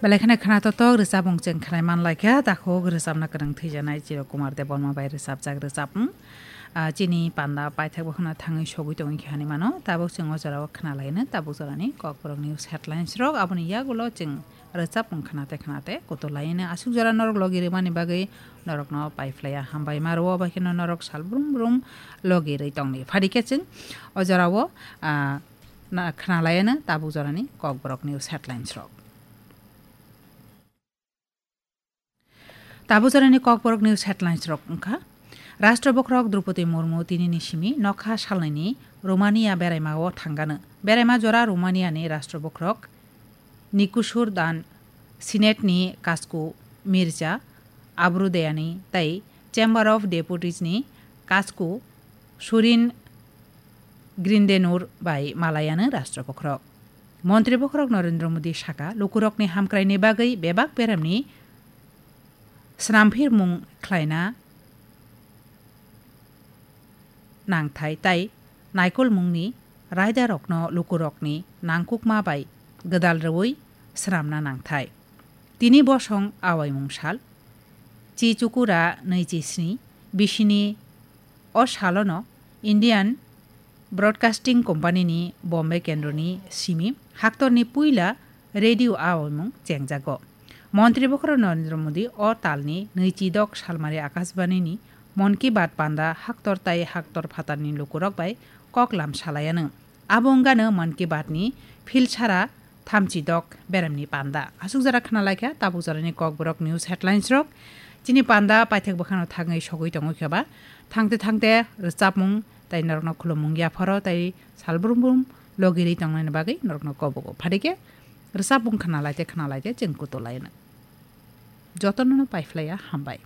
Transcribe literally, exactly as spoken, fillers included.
Belai kheno khna totok rwchapmung chwng khnai man lai kha, takhuk rwchapna kwrwng thwijanai Chiro Kumar Debbarma bai rwchapjak rwchapmung. Ah, chini panda paithak bokhno thangwi sogwi tongwi khe hani mano, tabuk chwng o jorao khna laino, tabuk jorani Kokborok news headlines rok, aboni yagulo chwng rwchapmung khnate khnate kutu laino aswk jora norok logi rwmani bagwi norokno paiphlaiya hambai ma rwo, bai kheno norok sal brum brum logi rwi tongni. Phadi khe chwng o jorao, ah, na-, khna laino tabuk jorani Kokborok news headlines rok. Tabuk jorani Kokborok news headlines rok wngkha, Rashtra Bokhorok Droupadi Murmu tinini simi nokha salnaini Romania beraimao thangano. Beraima jora Romaniani Rashtra Bokhorok Nikusur Dan Senate ni Kasku Mirza Abrudayani tei Chamber of Deputies ni Kasku Surin Grindenur bai malayano Rashtra Bokhorok. Montri Bokhorok Narendra Modi saka, lukurokni hamkraini bagwi bebak beramni snamphirmung khlaina nangthai tai naikolmungni raidarokno lukurokni nangkukma bai gwdal rwui swnamna nangthai. Tini bosong awaimung sal, chi chukura nwichi sni bisini o salono Indian Broadcasting Company ni Bombay kendroni simi haktorni puila radio awaimung chengjago. Montri Bokhorok Narendra Modi o talni nwichidok salmari Akashbani ni Mann Ki Baat panda haktor tai haktor phatarni lukurok bai koklam salayano. Abo wngano Mann Ki Baat ni philsara thamchidok beramni panda. Aswk jora khna laikha tabuk jorani Kokborok news headlines rok. Chini panda paithak bwkhano thangwi sogwi tongwi kheba. Thangte thangte rwchapmung tai norokno khulumung yapharo tai sal brum brum logirwi tongnani bagwi norokno kobogo. Phadike rwchapmung khna laite khna laite chwng kutu laino. Jotono no paiphlaiya hambai.